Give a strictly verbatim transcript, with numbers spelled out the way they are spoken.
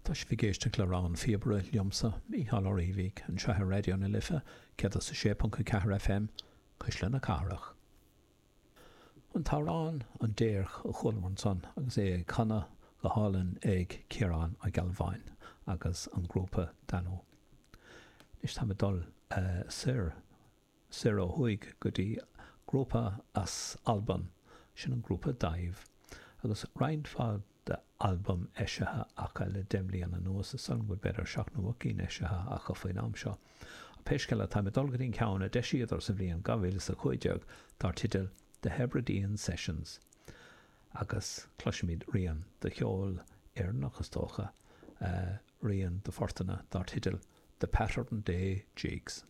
Tá sibh ag éisteacht le Rogha an Phíobaire liomsa, Mícheál Ó Riabhaigh, anseo ar Raidió na Life, céad is a sé ponc a ceathair FM, Cuisle na Cathrach. An t-amhrán An Déirc a chualamar ansan agus é á chanadh go hálainn ag Ciarán Ó Gealbháin agus an grúpa Danú. Anois táim ag dul soir, soir ó thuaidh go dtí grúpa as Albain, sin an grúpa Dàimh, agus roinnt mhaith d'albaim eisithe acu le deich mbliana anuas, is dóigh liom go bhfuil b'fhéidir seacht nó ocht gcinn eisithe acu faoin am seo. Ach pé scéal é, táim ag dul go dtí an ceann a d'eisíodar sa bhliain dhá mhíle is a cúig déag dar teideal The Hebridean Sessions agus cloisfimid rian de cheol Éireannach, is dócha, rian de phortanna dar teideal The Pattern Day Jigs.